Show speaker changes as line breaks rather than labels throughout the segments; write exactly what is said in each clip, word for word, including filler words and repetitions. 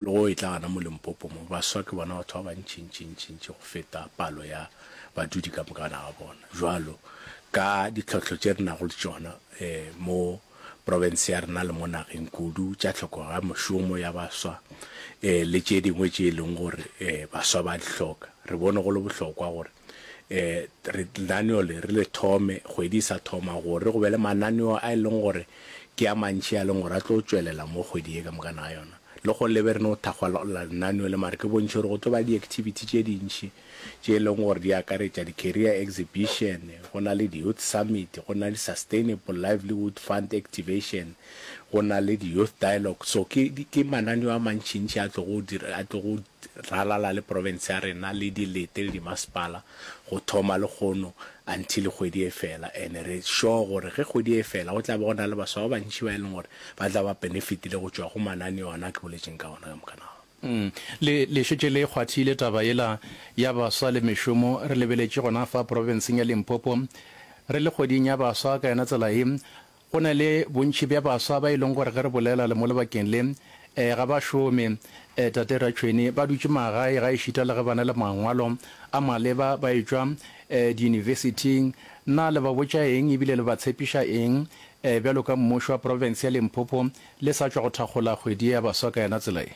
Le go e tla gana mo Limpopo mo, baswa ke bona batho ba bantšintšintšintši go feta palo ya badudi ka moka ga bona. Jwalo ka ditlhohlo tše re nago le tšona um mo profense ya rena le mo nageng, kudu tša tlhokego ya mošomo ya baswa um le tše dingwe tše e leng gore um baswa ba di hloka, re bone go le bohlokwa gore um re lenaneo le re le thome kgwedi e sa thoma, gore go be le mananeo a e leng gore ke a mantši a leng gore a tlo tšwelela mo kgwedi ye ka moka ga yona. Le go lebe re no thakgola lenaneo le, mare ke bontšhe gore go tlo ba di-activity tše dintši tše e leng gore di akaretša di-career exhibition, go na le di-youth summit, go na le sustainable livelihood fund activation, go na le di-youth dialogue. So ke ke mananeo a mantšintši a tlogo dira, a tlogo ralala le province ya rena le dilete le dimasepala go thoma le kgono until kgwedi e fela. And re sure gore ge kgwedi e fela, go tla be go na le baswa ba bantši ba e leng gore ba tla ba benefitile go tšwa go mananeo ana ke boletseng ka ona ka moka naga.
Mm. Le le šetše le kgwathile taba yela ya baswa le mešomo. Re lebeletše gona fa profenseng ya Limpopo, re le kgweding ya baswa ka yona tsela ye, go na le bontši bja baswa ba e leng gore ge re bolela le mo lebakeng le um ga ba šome. um Tate Ratšhweni, ba dutše magae ga ešita le ge ba na le mangwalo a maleba ba etšwa um diyunibesithing. Na le ba botša eng ebile le ba tshepiša eng um bjalo ka mmušo wa profense ya Limpopo le sa tšwa go thakgola kgwedi ya baswa ka yona tsela ye?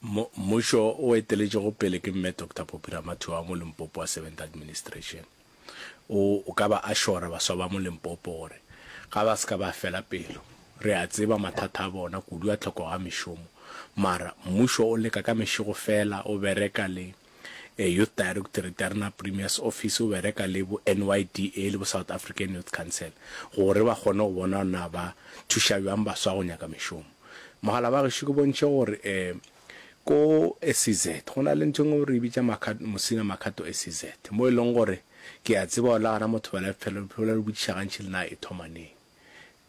Mmušo o eteletšego pele ke Mme Doctor Phophi Ramathuba wa mo Limpopo wa Seventh Administration o o ka ba assura baswa ba mo Limpopo gore ga ba se ka ba fela pelo. Re a tseba mathata a bona, kudu a tlhokego ga mešomo, mara mmušo o leka ka mešego fela, o bereka le Youth Directorate ya rena, Premier's Office, o bereka le bo N Y D A le bo South African Youth Council gore ba kgone go bona na ba thuša bjang baswa go nyaka mešomo. Mogala ba gešo, ke bontšhe gore um ko S E Z go na le ntho e nngwe re e bitša Musina Makgato S E Z, mo e leng gore ke a tseba gore la gana motho ba le botšiša gantši le na e thoma neng.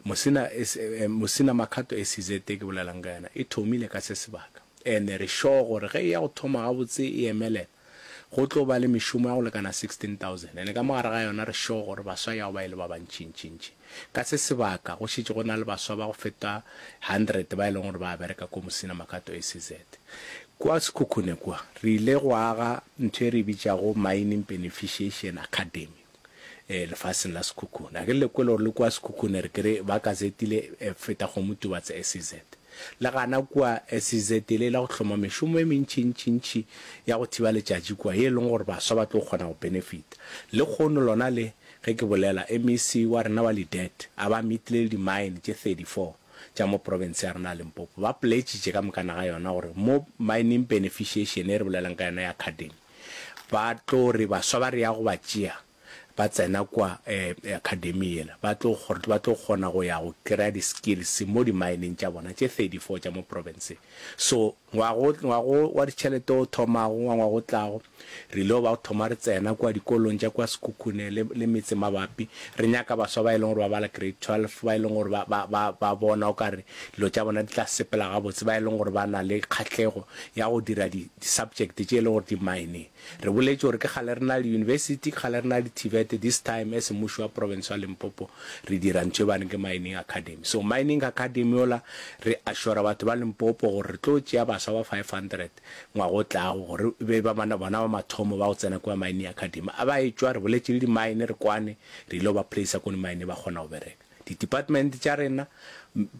Musina Musina Makgato S E Z e ke bolelang ka yona e thomile ka se sebaka, and re sure gore ge e ya go thoma gabotse e emelela, go tlo ba le mešomo ya go lekana sixteen thousand, and ka mogare ga yona re sure gore baswa ya go ba e le ba bantšintšintši. Ka se sebaka go šetše go na le baswa ba go feta hundred ba e leng gore ba bereka ko Musina Makgato S E Z. Kua Sekhukhune kua re ile go aga ntho e re bitšago Mining Beneficiation Academy um lefaseng la Sekhukhune. A ke le kwele gore le kua Sekhukhune re kere ba gazetile feta Kgomotubatse S E Z. Le gana kua S E Z le la go hloma mešomo e mentšintšintši ya go thiba letšatši kua, ye e leng gore baswa ba tlo kgona go benefita. Le kgono lona le ge ke bolela, M E C wa rena wa Ledet a ba meetile le di-mine tše thirty-four tša mo province ya rena ya Limpopo, ba pledgitše ka mokana ga yona gore mo mining beneficiation e re bolelang ka yona ya academy, ba tlo re baswa ba re ya go ba tšea ba tsena kwa um academy yela, ba tlo ba tlo kgona go ya go kry-a di-skills mo di-mineng tša bona tše thirty-four tša mo provinceng. So ngwago ngwago wa ditšhelete o thomago wa ngwago o tlago, re ile ba go thoma re tsena kua dikolong tša kua Sekhukhune le, le metse mabapi, re nyaka baswa ba e leng gore ba bala grade twelve, ba e leng gore ba, ba, ba, ba bona o kare dilo tša bona di tla sepela gabotse, ba e leng gore ba na le kgahlego ya go dira di-subject tše e leng gore di-mining. Re boletše gore ke kgale re na le university, ke kgale re na le T V E T. This time as mmušo wa province wa Limpopo re dira ntho e baneng ke mining academy. So mining academy ola re assura batho ba Limpopo gore re tlo tšea baswa ba five hundred ngwago o tlago gore e be ba bona ba mathomo ba go tsena kua mining academy. A ba etšwa, re boletše le di-mine, re kwane, re ile go ba placea ko di-mine, ba kgona go bereka. Di-department tša rena,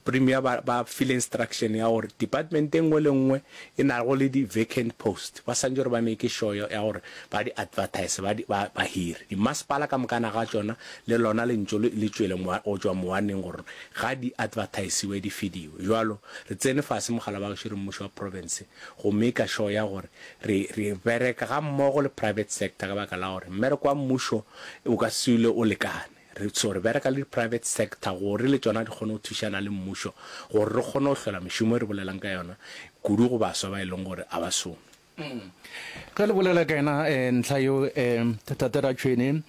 premier ba, ba file instruction ya gore department e nngwe le nngwe e nago le di-vacant post, ba santse gore ba make sure ya gore ba di advertise, ba, di, ba, ba hire. Dimasepala ka mokana ga tšona le lona lentso le le tšwele go tšwa mowaneng gore ga di advertisiwe di fediwe. Jwalo re tsene fase, mogala ba gešo, re mmušo wa province go make sure ya gore re, re bereka ga mmogo le private sector, ka baka la gore mmereko wa mmušo o ka se ile o lekane. Re so re bereka le di-private sector gore le tšona di kgone go thušana le mmušo gore re kgone go hlola mešomo e re bolelang ka yona, kudu go baswa ba e leng gore a ba šome.
Ge le bolela ka yena um ntlha yeo, um Tate Ratšhweni,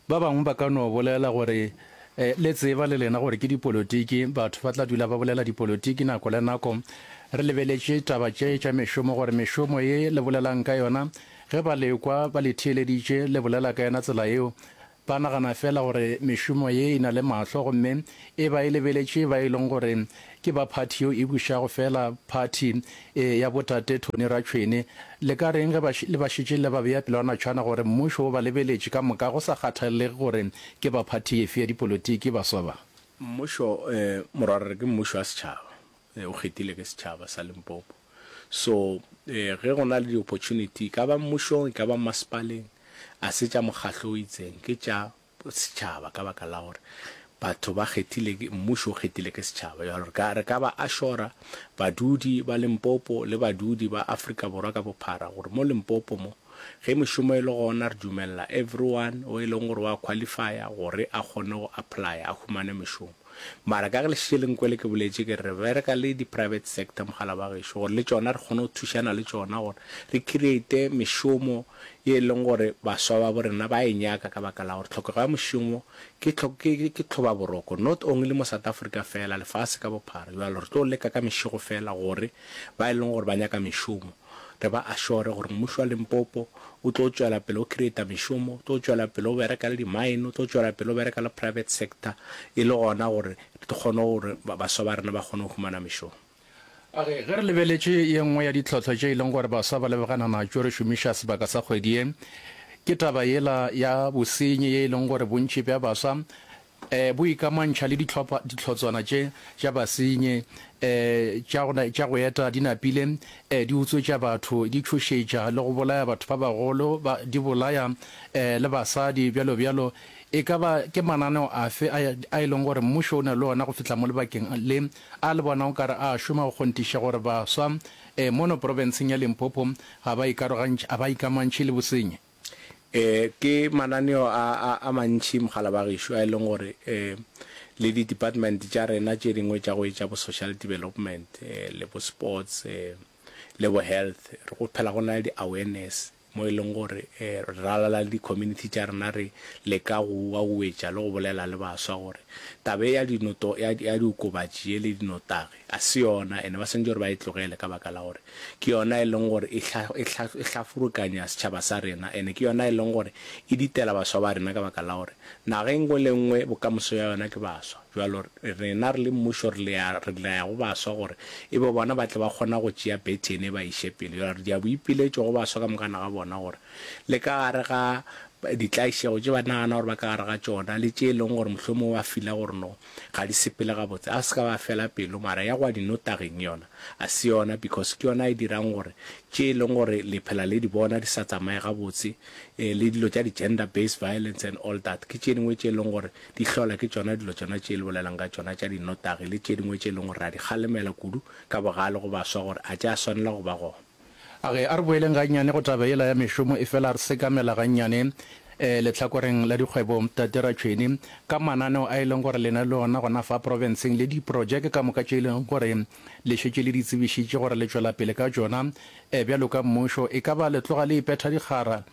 ba bangwe ba ka no bolela gore um le tseba le lena gore ke dipolotiki, batho ba tla dula ba bolela dipolotiki nako le nako. Re lebeletše taba tše tša mešomo, gore mešomo ye le bolelang ka yona, ge ba lekwa ba le theeleditše le bolela ka yona tsela yeo, ba nagana feela gore mešomo ye e na le mahlo gomme e ba e lebeletše ba e leng gore ke ba phathi yeo e bušago feela, phathi ya botate Tony Ratšhwene. Le ka reng ge ba le ba šetše le ba bea pelwanatšhwana gore mmušo o ba lebeletše ka moka go sa kgathalege gore ke ba phathi efe ya dipolotiki baswa ba?
Mmušo, morwarre ke mmušo wa setšhaba, o kgethile ke setšhaba sa Limpopo. So ge go na le di-opportunity, e ka ba mmušong, e ka ba mmasepaleng, a se tša mokgahlo o itseng, ke tša setšhaba ka baka la gore batho ba kgethile ke, mmušo o kgethile ke setšhaba. Bjalo re ka, re ka ba assura badudi ba Limpopo le badudi ba Afrika Borwa ka bophara gore mo Limpopo mo, ge mešomo e le gona re dumelela everyone o e leng gore wa qualifya gore a kgone go applya a humane mešomo. Mara ka ge le šetše le nkwele ke boletše ke re re bereka le di private sector mogala wa gešo gore le tšona re kgone go thušana le tšona gore re create mešomo ye e leng gore baswa ba bo rena ba e nyaka ka baka la gore tlhokego ya mošomo ke ke ke tlhobaboroko not only mo South Africa fela lefase ka bophara. Bjalo re tlo leka ka mešego fela gore ba e leng gore ba nyaka mešomo re ba assure gore mmušo wa Limpopo o tlo tšwela pele o creata mešomo, o tlo tšwela pele o bereka le di-mine, o tlo tšwela pele o bereka le private sector e le gona gore re kgone gore baswa ba rena ba kgone go humana mešomo.
A re, Ge re lebeletše ye nngwe ya ditlhohlo tše e leng gore baswa ba lebagana natšo re šomiša sebaka sa kgwedi ye, ke taba yela ya bosenyi ye e leng gore bontši bja baswa um bo ikamantšha le dihlopha dihlotswana tše tša basenyi um tša go tša go eta di napile um di utswetša batho, di tšhošetša le go bolaya batho ba bagolo, ba di bolaya um le basadi bjalo bjalo. E ka ba ke mananeo afe a a e leng gore mmušo o na le ona go fihla mo lebakeng le a le bona o ka re a šoma go kgonthiša gore baswa um mono profenseng ya Limpopo ga ba ikarogantšhe ga ba ikamantšhe le bosenyi?
E, ke mananeo a, a, a mantši mogala ba gešo a e leng gore e, le di-department tša rena tše dingwe tša go etša bo social development e, le bo sports e, le bo health, re go phela go na le di-awareness mo e leng gore e, re ralala le di-community tša rena re leka go uauetša le go bolela le baswa gore taba e ya dinoto, ya, ya diokobatši ye le dinotagi a se yona ene ba swanetše gore ba e tlogele ka baka la gore ke yona e leng gore e hla, e hla, e hlafurukanya setšhaba sa rena ene ke yona e leng gore e ditela baswa ba rena ka baka la gore naga e nngwe le nngwe bokamoso ya yona ke baswa. Bjalo rena re le mmušo re lea, re laya go baswa gore e be bona ba tle ba kgona go tšea bethene ba iše pele. Bjalo re dia boipiletšo go baswa ka mokana ga bona gore le ka gare ga ditlaišego tše ba nagana gore ba ka gare ga tšona le tše e leng gore mohlomongwe ba fila gore no ga di sepele gabotse, a se ka ba fela pelo, mara ya go ya dinotaging yona a se yona because ke yona e dirang gore tše e leng gore le phela le di bona di sa tsamaye gabotse, eh, le dilo tša di-gender based violence and all that ke tše dingwe tše e leng gore di hlola ke tšona dilo tšona tše le bolelang ka tšona tša dinotagi le tše dingwe tše e leng gore ra di kgalemela kudu ka bogale go baswa gore a tša swanela go ba gona.
A re, a re boeleng gannyane go taba yela ya mešomo, efela re sekamela gannyane eh, lehlakoreng la dikgwebo, Tate Ratšhweni, ka mananeo a e leng gore le na le ona gona fa profenseng le diprojeke ka moka tše e leng gore le šetše le di tsebišitše gore le tšwela pele ka tšona eh, bjalo ka mmušo. E ka ba le tloga le ipetha dikgara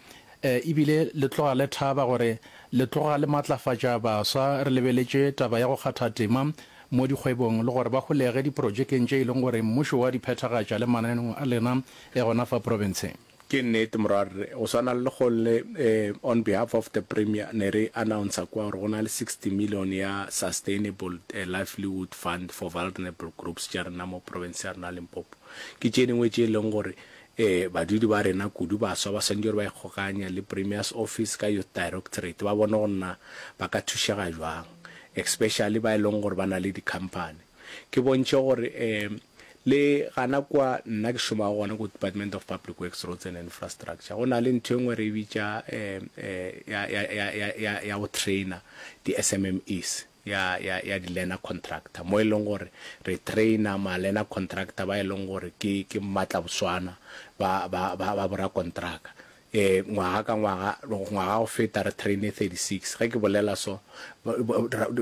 eh, ebile le tloga le thaba gore le tloga le matlafatša baswa re lebeletše taba ya go kgatha tema mo dikgwebong le gore ba holege diprojekeng tše e leng gore mmušo wa di phethagatša le mananeong a lena e gona fa profenseng.
Ke nnete morwarre, go swana le lekgong le eh, on behalf of the Premier ne re announcer kwa gore go na le sixty million ya Sustainable eh, Livelihood Fund for Vulnerable Groups tša rena mo province ya rena Limpopo. Ke tše dingwe tše e leng gore eh, badudi ba rena kudu baswa ba swanetše gore ba ikgokanye le Premier's Office ka Youth Directorate ba bone gore na ba ka thušega jwang, especially ba e leng gore ba na le di-company. Ke bontšhe gore eh, le gana kwa nna ke šomago gona ko Department of Public Works, Roads and Infrastructure, go na le ntho e nngwe re e bitša eh, eh, ya, ya, ya, ya, ya, ya go trainer di-S M M Es ya, ya, ya di-learner contractor, mo e leng gore re trainer ma-learner contractor ba e leng gore ke, ke mmatlaboswana ba, ba, ba, ba borakontraka. Eh, ngwaga ka ngwaga, ngwaga go feta re traine thirty-six. Ge ke bolela so,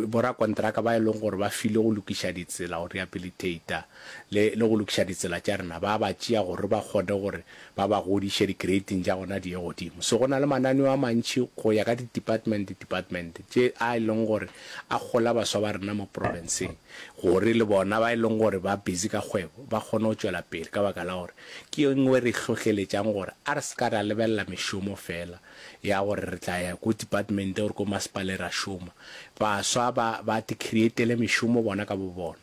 borakontraka ba e leng gore ba file go lokiša ditsela, go rehabilitata le, le go lokiša ditsela tša rena, ba ba tšea gore ba kgone gore ba ba godiše di-grading tša gona di ye godimo. So go na le mananeo a mantši go ya ka di-department, department tše a e leng gore a gola baswa ba rena mo provinceng gore le bona ba e leng gore ba busy ka kgwebo ba kgone go tšwela pele, ka baka la gore ke e nngwe re hlohleletšang gore a re se ka ra lebelela lebelela mešomo fela ya gore re tla ya ko department or ko masepale ra šoma. Baswa ba ba ti createle mešomo bona ka bo bona.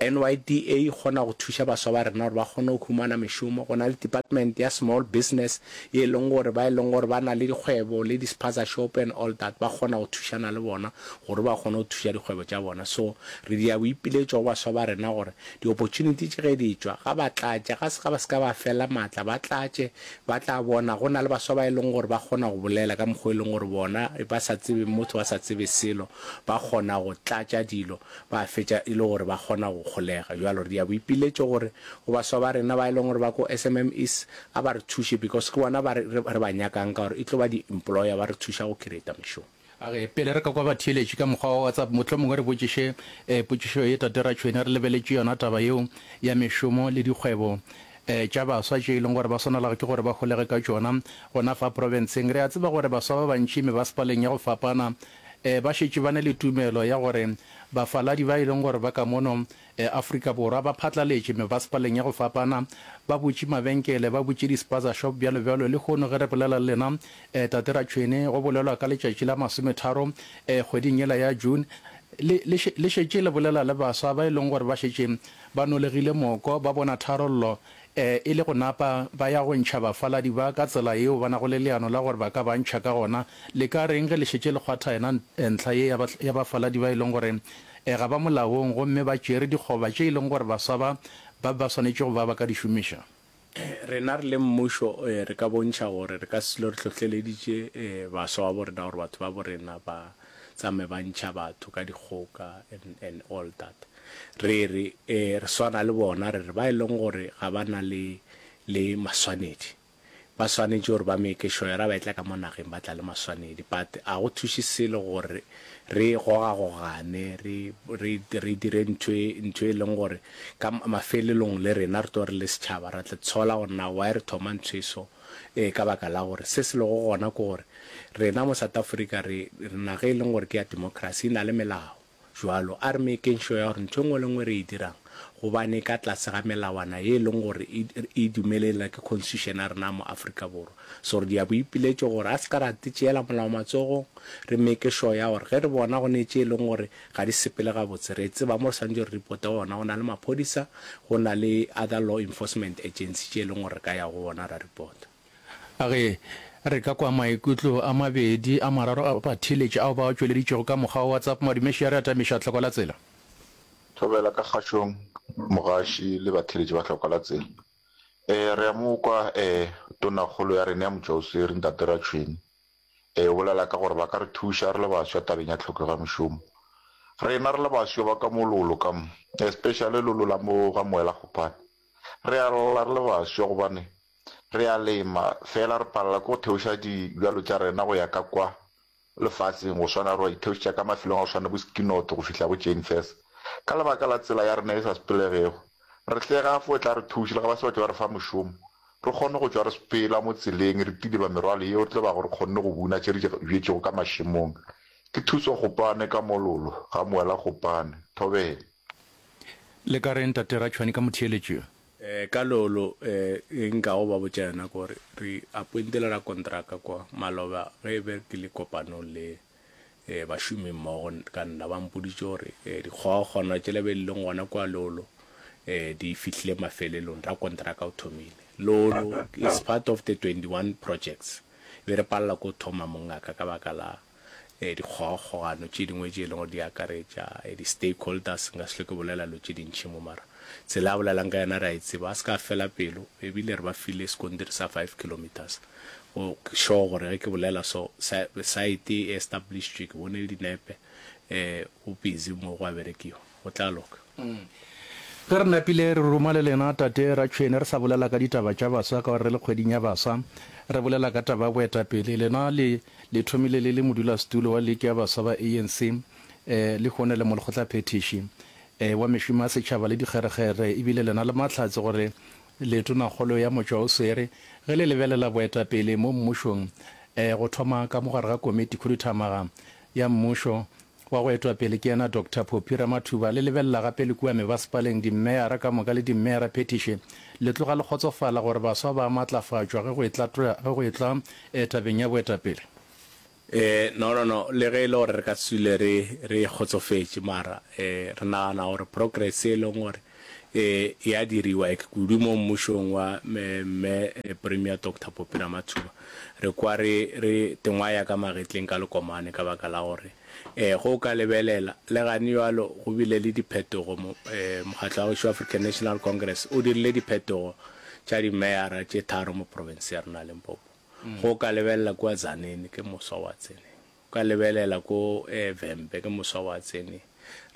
N Y D A e kgona go thuša baswa ba rena gore ba kgone go humana mešomo. Go na le department ya small business ye e leng gore ba e leng gore ba na le dikgwebo le di-spaza shop and all that, ba kgona go thušana le bona gore ba kgone go thuša dikgwebo tša bona. So re dia boipiletšo go baswa ba rena gore di-opportunity tše ge di tšwa ga ba tlatše, ga se ga ba se ka ba fela maatla, ba tlatše, ba tla bona go na le baswa ba e leng gore ba kgona go bolela ka mokgwa e leng gore bona ba sa tsebe motho, ba sa tsebe selo, ba kgona go tlatša dilo, ba fetša e le gore ba kgona go kgolega. Bjalo re dia boipiletšo gore go baswa ba rena ba e leng gore ba ko S M M Es, a ba re thuše because ke bona ba re re ba nyakang, ka gore e tlo ba di-employer, ba re thuša go creata mešomo.
A ge pele re ka kwa batheeletši ka mokgwa wa WhatsApp, mohlomongwe re botšiše um potšišo ye, Tate Ratšhwene, re lebeletše yona taba yeo ya mešomo le dikgwebo um tša baswa tše e leng gore ba swanelago ke gore ba holege ka tšona gona fa profenseng. Re a tseba gore baswa ba bantši mebasepaleng ya go fapana um ba šetše ba ne le tumelo ya gore bafaladi ba e leng gore ba ka mono um Afrika Borwa ba phatlaletše mebasepaleng ya go fapana, ba butše mabenkele, ba butše di-spaza shop, bjalo bjalo. Le kgono ge re bolela le lena, um Tate Ratšhwene, go bolelwa ka letšatši la masometharo um kgweding yela ya June, le le le šetše le bolela le baswa ba e leng gore ba šetše ba nolegile moko, ba bona tharollo um e le go napa ba ya go ntšha bafaladi ba ka tsela yeo ba nago le leano la gore ba ka ba ntšha ka gona. Le ka reng ge le šetše le kgwatha yena ntlha ye ya bafaladi ba e leng gore um ga ba molaong gomme ba tšere dikgoba tše e leng gore baswa ba ba ba swanetše go ba ba ka di šomiša?
Rena re le mmušo re ka bontšha gore re ka se dule re hlohleleditše baswa ba bo rena gore batho ba bo rena ba tsamaye ba ntšha batho ka dikgoka and, and all that. Re re re swana le bona, re re ba e leng gore ga ba na le le maswanedi, ba swanetše gore ba make sure ra ba etla ka mo nageng ba tla le maswanedi. But a go thuše selo gore re gogagogane, re re re dire ntho e ntho e leng gore ka mafelelong le rena re tlo re le setšhaba ra tla tshola gore na why re thoma ntho e so, e ka baka la gore se se lego gona ke gore rena mo South Africa re re naga e leng gore ke ya democracy, e na le melao. Jwalo a re makeng sure ya gore ntho e nngwe le nngwe re e dirang gobane ka tlase ga melawana ye e leng gore e dumelela ke constitution ya rena mo Afrika Borwa. So re dia boipiletšo gore a se ka ra tšeela molao matsogong, re make sure ya gore ge re bona go ne tše e leng gore ga di sepele gabotse, re tseba mo re swanetše re reporte gona. Go na le maphodisa, go na le other law enforcement agency tše e leng gore re ka ya go bona ra reporta.
A ge re ka kwa maikutlo a mabedi a mararo a batheeletši ao ba tšweleditšego ka mokgwa wa WhatsApp. Madumeši a re atamiša tlhoko la tsela.
Thobela ka kgašong, mogaši le batheeletši ba tlhoko la tsela. um re a mo kwa um tonakgolo ya rena ya motšwaoswere, Ntate Ratšhwene, um o bolela ka gore ba ka re thuša re le baswa tabeng ya tlhokego ya mešomo. Rena re le baswa ba ka mo Lolo ka mo, especially Lolo la mo ga Moela Kgopane, re a lla re le baswa gobane re a lema fela re palela ke go theoša dibjalo tša rena go ya ka kwa lefaseng, go swana re wa itheošetša ka mafelong a go swana bo Skinot go fihla bo Jane Furse, ka lebaka la tsela ya rena e sa sepelegego. Re hlega fo tla re thuša le ga ba se batho ba re fa mošomo, re kgone go tšwa re sepela mo tseleng re tileba merwalo yeo re tlo bago re kgonne go buna tše re di bjetšego ka mašemong. Ke Thuso Kgopane ka Mololo ga Moela Kgopane. Thobela.
Le ka reng, Tate Ratšhwane, ka motheeletši yo?
um ka Lolo, um e nkago ba botša yona ke gore re appointile rakontraka kwa maloba. Ge e be ke le kopanong le um bašomi mmogo ka nna, ba mpoditše gore um dikgogakgogano tšela be di leng gona kwa Lolo um di fihlile mafelelong, rakontraka o thomile. Lolo is part of the twenty-one projects be re palela ko thoma mongaka ka baka la um dikgogakgogano tše dingwe tše e leng gore di akaretša di-stakeholders. Nka se hlwe ke bolela lo tše dintšhi mo, mara tsela a bolelang ka yona re a e tseba, a se ka fela pelo. Ebile re ba file sekontiri sa five kilometers go sure gore ge ke bolela so site e established, ke bone le dinepe, um go busy mo go a berekiwa, go tla loka.
Ge re napile re ruma le lena, Tate Ratšhwene, re sa bolela ka ditaba tša baswa ka gore re le kgweding ya baswa, re bolela ka taba ya boetapele. Lena le le thomile le le modulasetulo wa liki ya baswa ba A N C, um le kgone le molekgotlaphethiši um wa mešomo ya setšhaba le dikgerekgere, ebile lena le mahlatse gore le tonakgolo ya motšwa o swere. Ge le lebelela boetapele mo mmušong, um go thoma ka mogare ga komiti khuduthamaga ya mmušo wa go etwa pele ke yena Doctor Phophi Ramathuba. Le lebelela gape le kua mebasepaleng, dimmeyara ka moka le dimmeyara phethiši, le tloga le kgotsofala gore baswa ba a matlafatšwa ge go etla ge go etla tabeng ya boetapele?
Eh, no, no, no, le ge e le gore re ka se dule re, re kgotsofetše, mara eh, re nagana gore progress e leng gore eh, e a diriwa ek kudu mo mmušong wa mme, mme eh, Premier Doctor Phophi Ramathuba, re kwa re, re tengwaya ka magetleng ka lekomane ka baka la gore eh, ge o ka lebelela le gane bjalo go bile le diphetogo mo, eh, mokgatlo wa gešo African National Congress o dirile diphetogo tša dimeyara tše tharo mo province ya rena ya Limpopo. Ge o ka lebelela kua Tzaneen ke moswa wa tseneng, o ka lebelela ko eh, Vhembe ke moswa wa tseneng,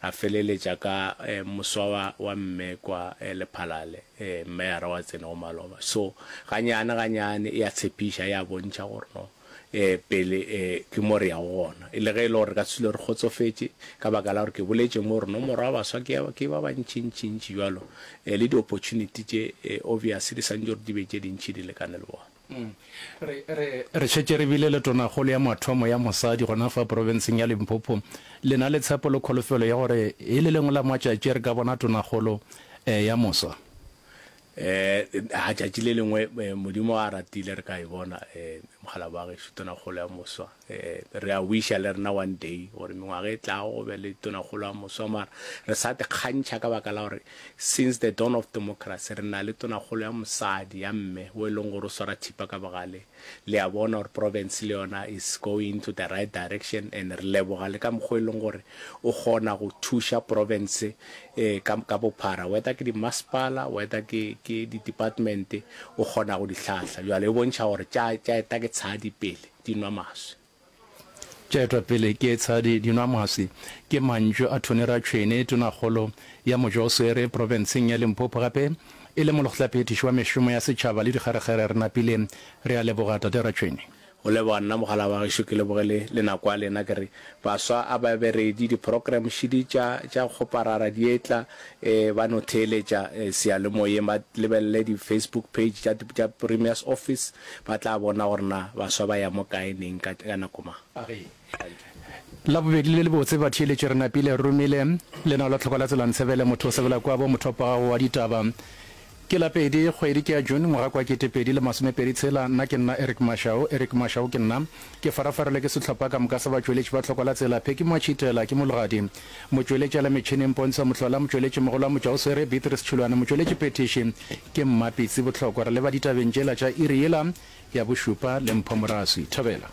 ra feleletša ka eh, moswa wa, wa mme kwa eh, Lephalale eh, meyara wa tsenego maloba. So ganyane ganyane e a tshepiša, e a bontšha gore no eh, pele eh, ke mo re yago gona. E le ge e le gore re ka se dule re kgotsofetše ka baka la gore ke boletše mo gore nomoro ya baswa ke, ke ba bantšintšintši bjalo eh, le di-opportunity tše eh, obvious di santše gore di be tše dintši di lekane le bona.
Re, re, re šetše re bile le tonakgolo ya mathomo ya mosadi gona fa profenseng ya Limpopo. Le na le tshepo le kholofelo ya gore e le lengwe la matšatši re ka bona tonakgolo eh, ya moswa?
Eh, ha tšatši le lengwe eh, Modimo a ratile re ka e bona eh, mogala wa gešo tonakgolo ya moswa. Eh, re a wisha le rena one day gore mengwaga e tlago go be le tonakgolo ya moswa, mara re sa te kgantšha ka baka la gore since the dawn of democracy re na le tonakgolo ya mosadi ya mme o e leng gore o swara thipa ka bogale. Le a bona gore province le yona is going into the right direction, and re leboga le ka mokgwa e leng gore o kgona go thuša province eh, ka, ka bophara, whether ke di-masepala, whether ke, ke di-department, o kgona go di hlahla. Jwale e bontšha gore tša, tša eta ke tshadi pele di nwa maswi.
Tša etwa pele ke tshadi di nwa maswi ke mantšu a Tony Ratšhwene, tonakgolo ya Mojoswere profenseng ya Limpopo, gape e le molekgotlaphethiši wa mešomo ya setšhaba le dikgerekgere. Re napile re a leboga tate Ratšhwene.
Go leboga nna mogala wa gešo, ke leboge le, le nako ya lena. Ke re baswa a ba be ready, di-program šidi tša, tša kgoparara di etla, eh, ba no theeletša eh, seyalemoyeng, ba lebelele di-Facebook page tša, tša Premier's Office, ba tla bona gore na baswa ba ya mo kae neng ka, ka nako mang.
Labobedi le lebotse batheeletši, re napile re romile lenao la tlhoko la tsela ntshebele motho o sebela kwa bo mothopo wa gago wa ditaba. Ke la pedi kgwedi ke ya June ngwaga kwa ketepedi le masomepedi tshela. Nna ke nna Eric Mashau, Eric Mashau ke nna. Ke farafarelwe ke sehlopha ka moka sa batšweletši ba tlhoko la tsela. Pheki Matšhitela ke mologadi, motšweletši a la metšhineng Pontsho Mohlola, motšweletši mogolo wa Motšwaoswere Beatrice Tšhulwane, motšweletši phethiši ke Mmapitsi Bohlokwa. Re leba ditabeng tšela tša iri yela ya bošupa le Mpho Moraswi. Thobela.